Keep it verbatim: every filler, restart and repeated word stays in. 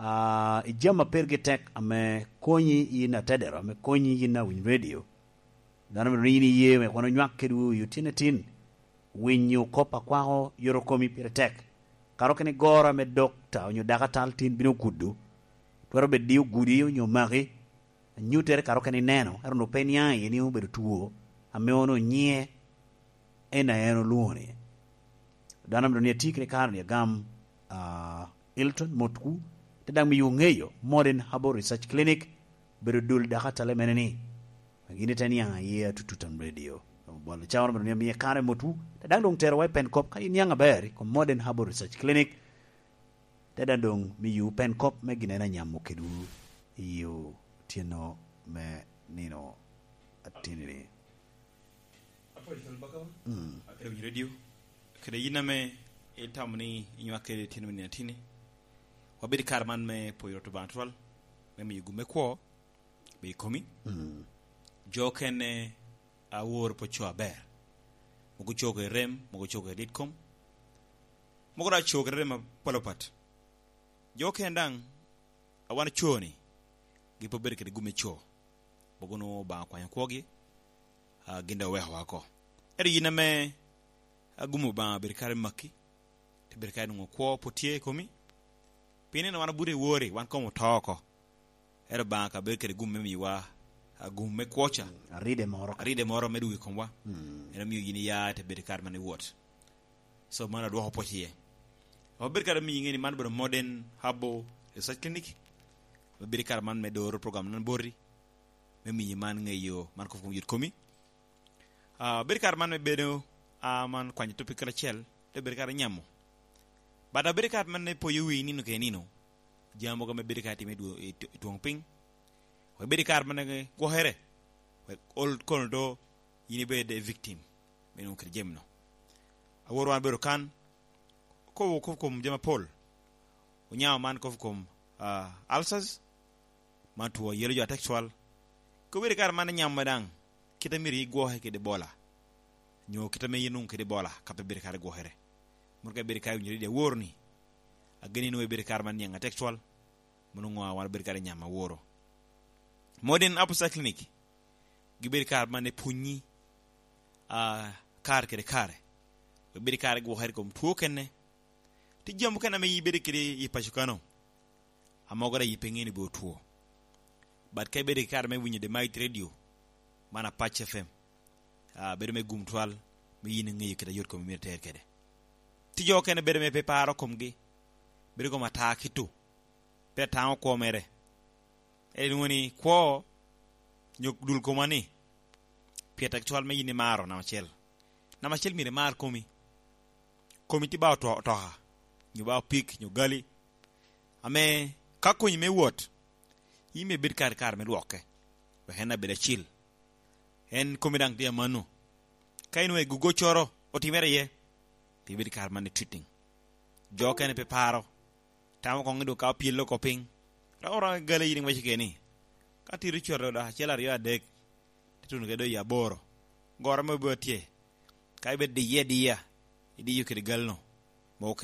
Ah, i jami a pergi tek ame konyi yin atedero, ame konyi yin awiny redio, dano myero ni yin iye me kono nywak kedwu i otyeno atin, winyo kop akwako yot okomi pire tek. Karo kene goro ame dokta onyo dakatal tin bino kudu, twero bed di ogudi onyo maki, anyutere karo kene ineno, ero onwo pe niaŋ iye ni obedo two, ame ono nyiŋe en a en olwoŋo ni. Dano myero ni ati kede kare ni agam, ah, Hilton Motku, te daŋ miyo ŋeyo Modern Herbal Research Clinic, bedo dul dakatal mene ni. Gin ite niaŋ aye atutut am radio. Bwalo cawa myero ni amiye kare Motku, te daŋ doŋ terowa i pen kop ka iniaŋ aber i kom Modern Herbal Research Clinic, te daŋ doŋ miyo pen kop me gin en anyamo kedwu i otyeno me nino atini-ni. Apwoyo Cal Bakawa, mm, akede winyo redio, kede yin ame itamo ni inywak kede tyen me nino atini. Wabedo i kare man me pwoyo Rwot Obaŋa twal, me miyo gum me kwo, be i komi. Mm. Jo okene awor pe co aber. Mogo co kede rem, mogo co kede lit kom. Mogo daŋ co kede rem apol apat. Jo okene daŋ, a wan co-ni, gin pe obedo kede gum me co. Mogo nwoŋo Obaŋa okwanyo kwogi, a, gin daŋ oweko wa oko. Ento yin ame, a, gum Obaŋa obedo kare maki, te bedo kare nwoŋo kwo pwod tye i komi. Pien nino wan obuto i wori, wan kom oto oko. Ento Obaŋa ka bedo kede gum me miwa, a, gum me kwo ca. Mm, aride moro. Aride moro me dwogo i komwa. Mm. En omio yin iya te bedo kare man i wot. So, man adwoko pwoc iye. Obedo kare miyo ŋe ni man obedo Modern Herbal Research Clinic. Obedo kare man me doro program nan boti. Me miyo man ŋeyo man kop kom yot komi. Ah, bedo kare man me bedo, ah, man kwanyo topic kacel, te bedo kare nyamo. But abedo kare man me poyo wi nino ke nino. Jami mogo me bedo kare time i dwo-, i t-, i twoŋ piny. Wek bedo kare man gwokere. Wek ol kono do yin ibed a victim. Me nwoŋo kede jami no. Awor wan bedo kan. Kobo kop kom jami apol. Onyao man kop kom, ah, ulcers. Man two yelo jo atek cwal. Ka obedo kare man inyamo daŋ, kite myero igwoke kede bola. Nyo kite me yin nwoŋo kede bola, ka pe bedo kare gwokere. Moro ka ibedo kare winyo ridi awor ni. Ageni nwoŋo ibedo kare man niaŋ atek cwal. Mono ŋo a wan obedo kare nyamo aworo. Modern Apostle Clinic, gibedo kare man epwonyi, a, kare kede kare. Ibedo kare gwokere kom two kene. Ti jami okene ame ibedo kede i paco kano. Amogere ayi pe ŋeni be otwo. But ka ibedo i kare me winyo The Might Radio, man Apac F M, ah, bedo me gum twal, me yin iŋeyo kit a yot kom imito ter kede. Ti jo okene bedo me pe paro komgi, bedo kom ata kito, pe ataŋo kwo mere. Elwoŋo ni kwo, nyo dul koma ni, pien tek cwal me yin imaro namba acel. Namba acel myero imar komi. Komi ti ba oto-, otoka, nyo ba opik, nyo gali. Ame ka konyi me wot, in myero ibed kare kare me lwokke, wek en abed acil. En komi daŋ tye amanno. Ka inwoŋo egugoccoro otimere iye, pi ibed kare man i treating. Jo okene pe paro, tamo koŋ i dwogo ka opyelo oko piny. Romo romo gali yin iwaco keni, ka tito cwero dok acel aryo adek, te tuno kede doŋ i aboro. Goro me obedo tye, ka ibed diye adiya, idiyo kede galno, mogo kelo